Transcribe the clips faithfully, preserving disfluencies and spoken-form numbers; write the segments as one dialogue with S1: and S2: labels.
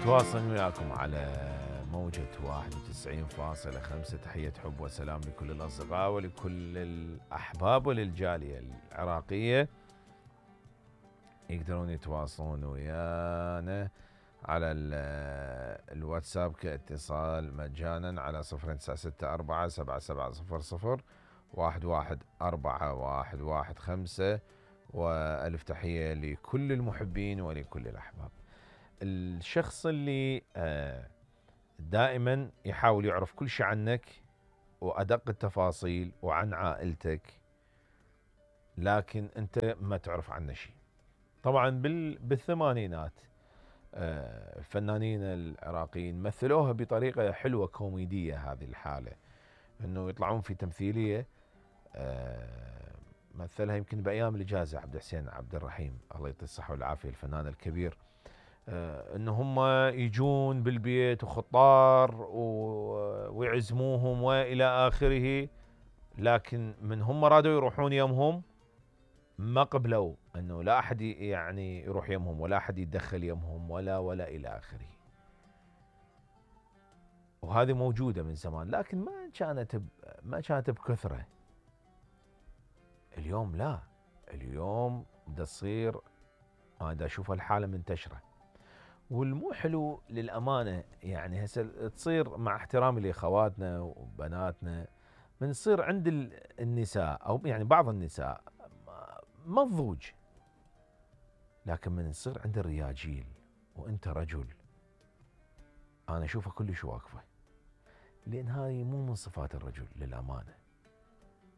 S1: متواصل وياكم على موجة واحد وتسعين فاصلة خمسة. تحية حب وسلام لكل الأصدقاء ولكل الأحباب وللجالية العراقية. يقدرون يتواصلون ويانا على الواتساب كاتصال مجانا على صفر تسعة ستة أربعة سبعة سبعة صفر صفر واحد واحد أربعة واحد واحد خمسة. وألف تحية لكل المحبين ولكل الأحباب. الشخص اللي دائما يحاول يعرف كل شيء عنك وأدق التفاصيل وعن عائلتك، لكن أنت ما تعرف عنه شيء. طبعا بالثمانينات الفنانين العراقيين مثلوها بطريقة حلوة كوميدية. هذه الحالة أنه يطلعون في تمثيلية مثلها يمكن بأيام الإجازة عبد الحسين عبد الرحيم الله يعطيه الصحة والعافية الفنان الكبير، ان هم يجون بالبيت وخطار ويعزموهم والى اخره، لكن من هم رادوا يروحون يمهم ما قبلوا انه لا احد يعني يروح يمهم ولا احد يتدخل يمهم ولا ولا الى اخره. وهذه موجودة من زمان لكن ما كانت ما كانت بكثرة. اليوم لا، اليوم دا تصير انا دا اشوف الحالة منتشرة والمو حلو للأمانة. يعني هسه تصير مع احترامي لأخواتنا وبناتنا من تصير عند النساء أو يعني بعض النساء مضوج، لكن من تصير عند الرياجيل وانت رجل انا اشوفها كلش واقفة، لان هاي مو من صفات الرجل للأمانة.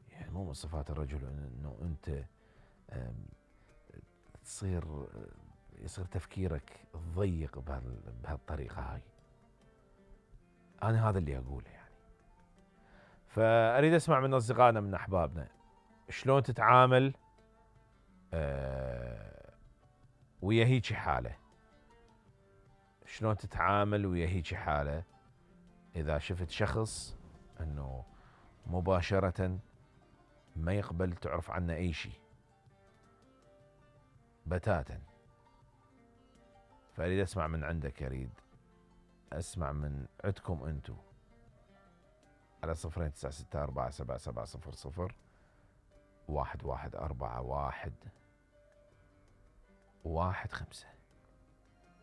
S1: يعني مو من صفات الرجل انه انت تصير يصير تفكيرك ضيق بهالطريقة هاي. أنا هذا اللي أقوله يعني. فأريد أسمع من أصدقائنا من أحبابنا شلون تتعامل أه ويا هيجي حالة، شلون تتعامل ويا هيجي حالة إذا شفت شخص أنه مباشرة ما يقبل تعرف عنه أي شيء بتاتا. فأريد أسمع من عندك، أريد أسمع من عندكم أنتو على صفرين تسعة ستة أربعة سبعة سبعة صفر صفر واحد واحد أربعة واحد واحد خمسة.